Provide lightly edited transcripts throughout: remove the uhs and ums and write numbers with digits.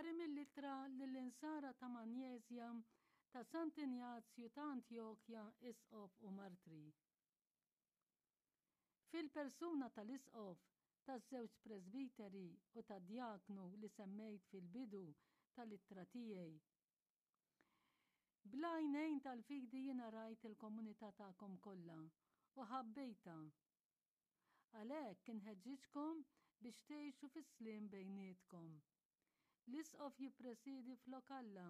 Qari mill-Ittra lill-Insara ta' Manjeżja ta' Sant'Injazju ta' Antjokja, Isqof u Martri. Fil-persuna tal-Isqof, taż-żewġ presbiteri u tad-djaknu li semmejt fil-bidu tal-ittra tiegħi. Bl-għajnejn tal-fidi jiena rajt il-komunità tagħkom kollha u ħabbejtha. Għalhekk inħeġġiġkom biex tgħixu fis-sliem bejnietkom. L-Isqof jippresiedi flok Alla,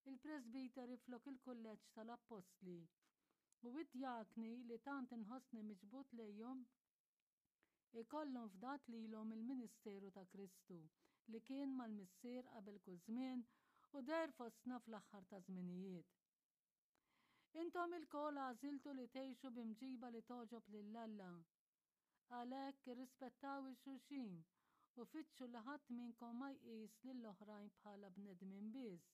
il-presbiteri flok il-kulleġġ tal-Appostli, u d-djakni li tant inħossni miġbud lejhom ikollhom fdat lilhom il-ministeru ta' Kristu li kien mal-Missier qabel kull żmien u deher fostna fl-aħħar taż-żminijiet. Intom ilkoll għażiltu li tgħixu bi mġiba li togħġob lil Alla. Għalhekk irrispettaw 'il xulxin u fittxu li ħadd minnkom ma jqis lill-oħrajn bħala bnedmin biss,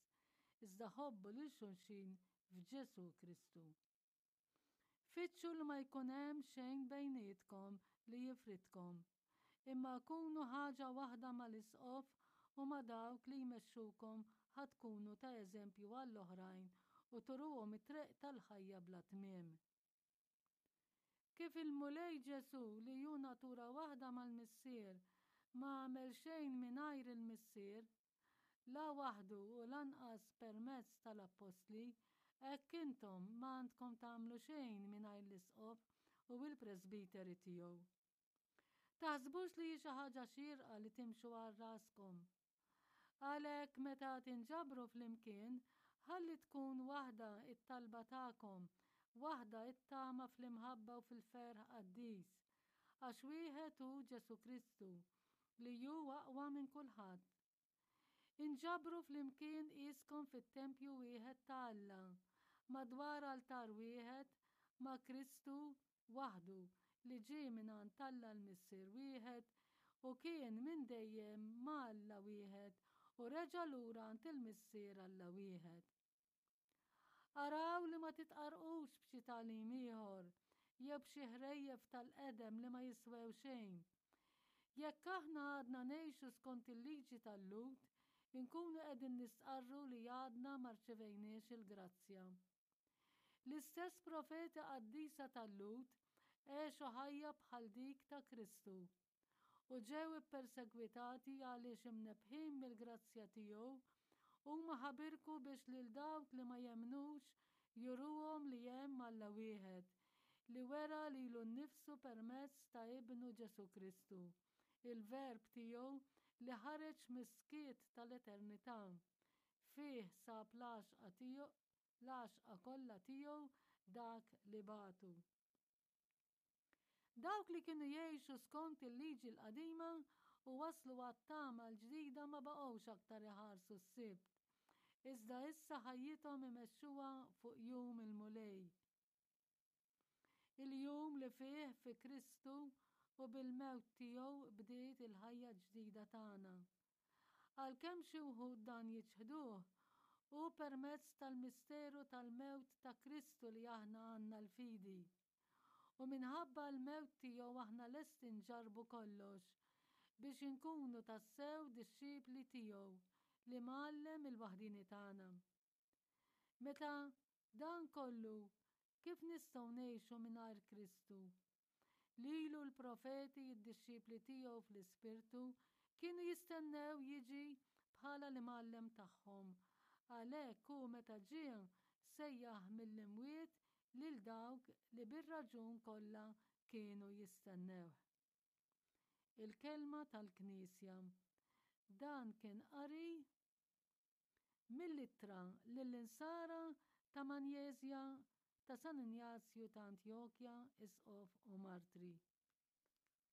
iżda ħobbu lil xulxin f'Ġesù Kristu. Fittxu li ma jkun hemm xejn bejnietkom li jifridkom, imma kunu ħaġa waħda mal-Isqof u ma' dawk li jmexxukom ħa tkunu ta' eżempju għall-oħrajn u turuhom it-triq tal-ħajja bla tmiem. Kif il-Mulej Ġesù li hu natura waħda mal-Missier ma għamel xejn mingħajr il-Missier, la waħdu u lanqas permezz tal-appostli, hekk intom ma għandkom tagħmlu xejn mingħajr l-isqof u l-presbiteri tiegħu. Taħsbux li hi xi ħaġa xierqa li timxu għal raskom. Għalhekk meta tinġabru flimkien, ħalli tkun waħda t-talba tagħkom, waħda t-tama fl-imħabba u fil-ferħ qaddis, għax wieħed hu Ġesù Kristu, li hu aqwa minn kulħadd. Inġabru flimkien qiskom fit-tempju wieħed ta' Alla, madwar altar wieħed ma' Kristu waħdu li ġie mingħand Alla l-Missier wieħed u kien minn dejjem ma' Alla wieħed u reġa' lura għand il-Missier Alla wieħed. Araw li ma titqarrqux b'xi tagħlim ieħor jew b'xi ħrejjef tal-qedem li ma jiswew xejn. Jekk aħna għadna ngħixu skont il-liġi tal-Lhud, inkunu qegħdin nistqarru li għadna ma rċevejniex il-grazzja. L-istess profeti qaddisa tal-Lhud għexu ħajja bħal dik ta' Kristu u ġew ippersegwitati għaliex imnebbħin mill-grazzja tiegħu, huma ħabirku biex lil dawk li ma jemmnux juruhom li hemm Alla wieħed, li wera lilu nnifsu permezz ta' Ibnu Ġesù Kristu, il-Verb tiegħu li ħareġ mis-skiet tal-eternità. Fih sab l-għaxqa tiegħu, l-għaxqa kollha tiegħu dak li bagħtu. Dawk li kienu jgħixu skont il-liġi l-qadima u waslu għat-tama l-ġdida ma baqgħux aktar iħarsu s-Sibt, iżda issa ħajjithom imexxuha fuq jum il-Mulej. Il-jum li fih fi Kristu u bil-mewt tiegħu bdiet il-ħajja ġdida tagħna. Għalkemm xi wħud dan jiċħduh, hu permezz tal-misteru tal-mewt ta' Kristu li aħna għandna l-fidi. U minħabba l-mewt tiegħu aħna lesti nġarrbu kollox biex inkunu tassew dixxipli tiegħu, l-Imgħallem il-waħdieni tagħna. Meta dan kollu, kif nistgħu ngħixu mingħajr Kristu? Lilu l-profeti, id-dixxipli tiegħu fl-ispirtu, kienu jistennew jiġi bħala l-imgħallem tagħhom. Għalhekk hu meta ġie sejjaħ mill-imwiet lil dawk li bir-raġun kollha kienu jistennewh. Il-kelma tal-Knisja. Dan kien qari Mill-Ittra lill-Insara ta' Manjeżja ta' San Injazju ta' Antjokja, Isqof u Martri.